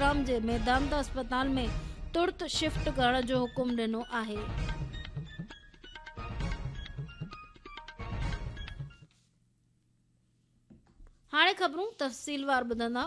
گروگرام جي ميدانتا اسپتال ۾ ترت شفٽ ڪرڻ جو حڪم ڏنو آهي. هاڻي خبرون تفصيلوار ٻڌندا.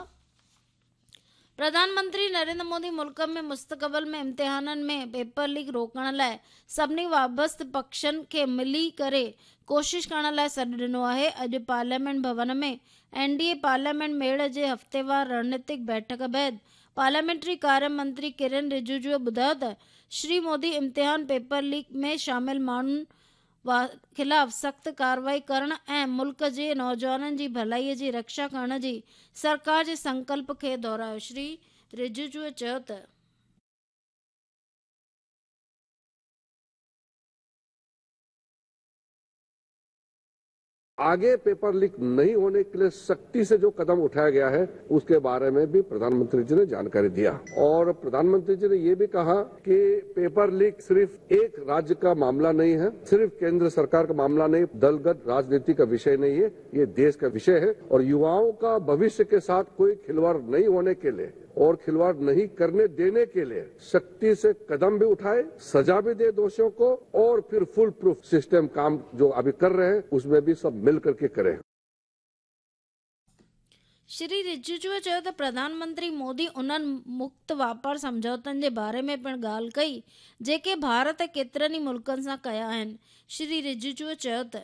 پرڌان منتري نريندر مودي ملڪ ۾ مستقبل ۾ امتحانن ۾ پيپر ليڪ روڪڻ لاء سڀني وابسته پکشن کي ملي ڪري ڪوشش ڪرڻ لاء سڏ ڏنو آهي. اڄ پارليامينٽ ڀون ۾ اين ڊي اي پارليامينٽ ميڙ جي هفتيوار رڻنيتڪ بيٺڪ بعد پارليامينٽري ڪاريه منتري ڪرن رجيجو ٻڌايو ته شري مودي امتحان پيپر ليڪ ۾ شامل ماڻهن خلاف سخت ڪارروائي ڪرڻ ۽ ملڪ جي نوجوانن جي ڀلائي جي رڪشا ڪرڻ جي سرڪار جي سنڪلپ کي دهرايو. شري رجيجو چيو ته. आगे पेपर लीक नहीं होने के लिए सख्ती से जो कदम उठाया गया है उसके बारे में भी प्रधानमंत्री जी ने जानकारी दिया और प्रधानमंत्री जी ने ये भी कहा कि पेपर लीक सिर्फ एक राज्य का मामला नहीं है, सिर्फ केंद्र सरकार का मामला नहीं, दलगत राजनीति का विषय नहीं है, ये देश का विषय है और युवाओं का भविष्य के साथ कोई खिलवाड़ नहीं होने के लिए और खिलवाड़ नहीं करने देने के लिए सख्ती से कदम भी उठाए, सजा भी दे दोषियों को और फिर फुल प्रूफ सिस्टम काम जो अभी कर रहे हैं उसमें भी सब मिल करके करें। श्री रिजिजूअ चयो त प्रधानमंत्री मोदी उन्हनि मुक्त वापार सम्झौतनि जे बारे में पिणु ॻाल्हि कई जेके भारत केतिरनि ई मुल्कनि सां कया आहिनि। श्री रिजिजूअ चयो त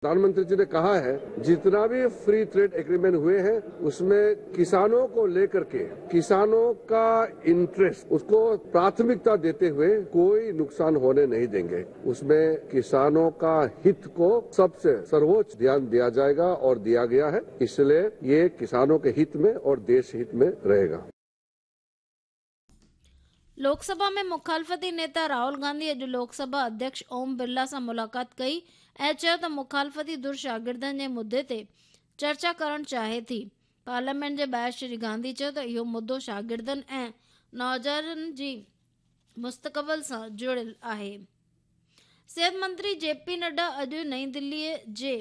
प्रधानमंत्री जी ने कहा है जितना भी फ्री ट्रेड एग्रीमेंट हुए हैं उसमें किसानों को लेकर के किसानों का इंटरेस्ट उसको प्राथमिकता देते हुए कोई नुकसान होने नहीं देंगे। उसमें किसानों का हित को सबसे सर्वोच्च ध्यान दिया जाएगा और दिया गया है, इसलिए ये किसानों के हित में और देश हित में रहेगा। लोकसभा में मुखालफ़ती नेता राहुल गांधी अॼु लोकसभा अध्यक्ष ओम बिरला सां मुलाक़ात कई ऐं चयो त मुखालफ़ती धुर शागिर्दनि जे मुद्दे ते चर्चा करणु चाहे थी। पार्लियामेंट जे ॿाहिरि श्री गांधी चयो त इहो मुद्दो शागिर्दनि ऐं नौजवाननि जी मुस्तक़बिल सां जुड़ियल आहे। सिहत मंत्री जे पी नड्डा अॼु नई दिल्लीअ जे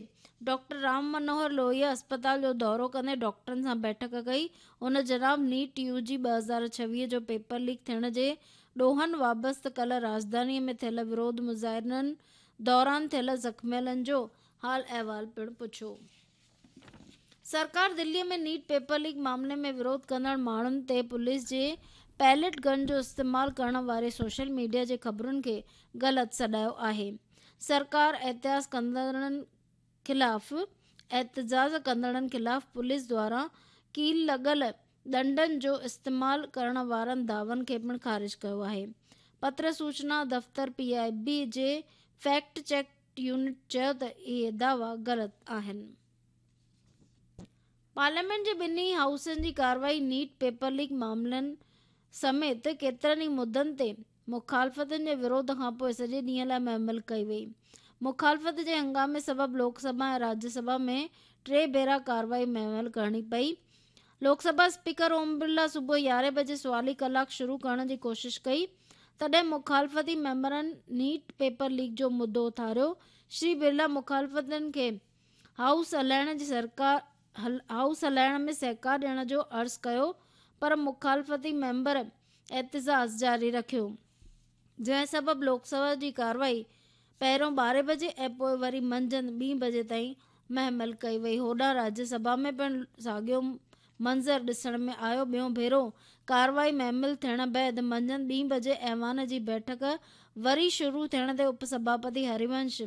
डॉक्टर राम मनोहर लोहिया अस्पताल जो दौरो कंदे डॉक्टरनि सां बैठक कई। हुन जनाब नीट यू जी 2026 जो पेपर लीक थियण जे ॾोहनि वाबस्ते कल्ह राजधानीअ में थियल विरोध मुज़ाहिरनि दौरान थियल ज़ख़्मियलनि जो हाल अहिवाल पिणु पुछियो। सरकार दिल्लीअ में नीट पेपर लीक मामले में विरोध कंदड़ माण्हुनि ते पुलिस जे पैलेट गन जो इस्तेमाल करण वारे सोशल मीडिया जे ख़बरुनि खे ग़लति सॾायो आहे। सरकार एहतिजाज कंदड़नि ख़िलाफ़ पुलिस द्वारा कील लॻल ॾंडनि जो इस्तेमाल करण वारनि दावन खे पिणु ख़ारिज कयो आहे। पत्र सूचना दफ़्तर पी I बी जे फैक्ट चेक यूनिट चयो त इहे दावा ग़लति आहिनि। पार्लियामेंट जे ॿिन्ही हाउसनि जी कार्रवाई नीट पेपर लीक मामलनि समेत केतिरनि ई मुद्दनि ते मुखालफ़तनि जे विरोध खां पोइ सॼे ॾींहं लाइ महमल कई वई। मुखालफ़त जे हंगामे सबबि लोकसभा ऐं राज्यसभा में 3 भेरा कार्रवाई महमल करणी पई। लोकसभा स्पीकर ओम बिरला सुबुह 11 बजे सुवाली कलाक शुरू करण जी कोशिश कई, तॾहिं मुखालफ़ती मेंबरनि नीट पेपर लीक जो मुद्दो उथारियो। श्री बिरला मुखालफ़तनि खे हाउस हलाइण में सहकार ॾियण जो अर्ज़ु कयो, पर मुखालफ़ती मेंबर एहतिजाज जारी रखियो, जंहिं सबबि लोकसभा जी कार्रवाई पहिरियों 12 बजे ऐं पोइ वरी मंझंदि 2 बजे ताईं महमल कई वई। होॾां राज्यसभा में पिणु साॻियो मंज़र ॾिसण में आयो। ॿियो भेरो कार्रवाई महमल थियण बाद मंझंदि 2 बजे ऐवान जी बैठक वरी शुरू थियण ते उपसभापति हरिवंश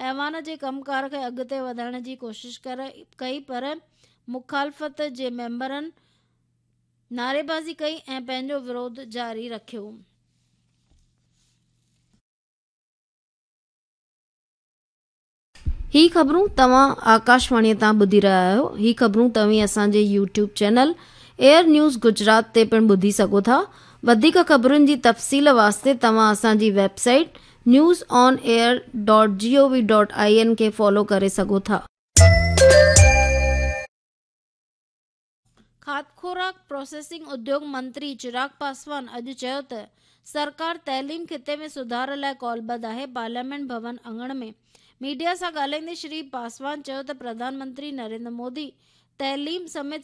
ऐवान जे कमकार खे अॻिते वधाइण जी कोशिश कई, पर मुखालफ़त जे मेंबरनि नारेबाज़ी कई ऐं पंहिंजो विरोध जारी रखियो। ही ख़बरूं तव्हां आकाशवाणीअ तां ॿुधी रहिया आहियो। ही ख़बरूं तव्हीं असांजे YouTube channel air news Gujarat ते पिणु ॿुधी सघो था। वधीक ख़बरुनि जी तफ़सील वास्ते तव्हां असांजी वेबसाइट newsonair.gov.in खे फॉलो करे सघो था। खाद खुराक प्रोसेसिंग उद्योग मंत्री चिराग पासवान अॼु चयो त सरकार तइलीम खिते में सुधार लाइ कौलबद्ध आहे। पार्लियामेंट भवन आङण में मीडिया सां ॻाल्हाईंदे श्री पासवान चयो त प्रधानमंत्री नरेंद्र मोदी तइलीम समेत